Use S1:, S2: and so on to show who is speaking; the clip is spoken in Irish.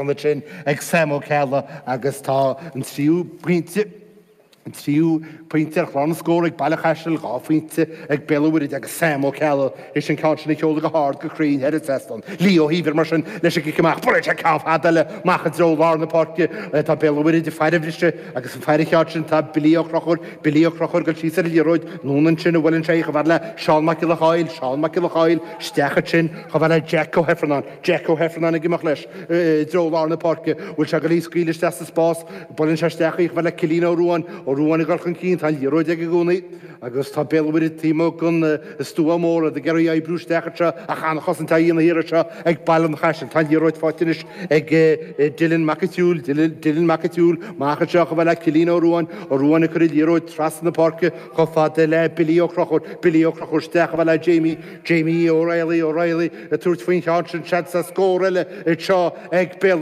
S1: Ansin ag Sam Ó Ceallaigh agus tá an tríú pointe, an tríú pointe ar chlár na scór ag Baile Chaisil, 2 phointe ag Béal an Mhuirthead agus Sam Ó Ceallaigh théis an ceann sin a sheoladh go hard go cruinn thar an trasnán. Lee Ó hÍomhair mar sin leis an gcic amach. Buaileann sé ceann fada eile amach i dtreo lár na páirce. Tá Béal an Mhuirthead ag faire an bhriseadh agus ag faire an cheann sin tá Billy Ó Conchúir, Billy Ó Conchúir ag dul síos ar an liathróid. Anonn ansin a bhuaileann sé í chomh fada le Seán Mac Giolla Chóill, Seán Mac Giolla Chóill isteach ansin chomh fada le Jack Ó hIfearnáin. Jack Ó hIfearnáin ag imeacht leis i dtreo lár na páirce. Bhfuil sé ag dul í a scaoileadh isteach sa spás? Buaileann sé isteach í chomh fada le Cillian Ó Ruáin. Ó Ruáin ag dul chun cinn. Tá an liathróid aige i gcónaí agus tá Béal an Mhuirthead taobh amuigh den stua mór, iad ag iarraidh oibriú isteach anseo ach an-chosaint á dhéanamh thiar anseo ag Baile an Chaisil. Tá an liathróid faighte anois ag Dylan Mac an tSiúil. Dylan Mac an tSiúil amach anseo chomh fada le Cillian Ó Ruáin. Ó Ruáin ag cur an liathróid trasna na páirce chomh fada le Billy Ó Conchúir. Billy Ó Conchúir isteach chomh fada le Jamie. Jamie O'Reilly, O'Reilly ag tabhairt faoin cheann sin, seans ar scór eile anseo ag Béal.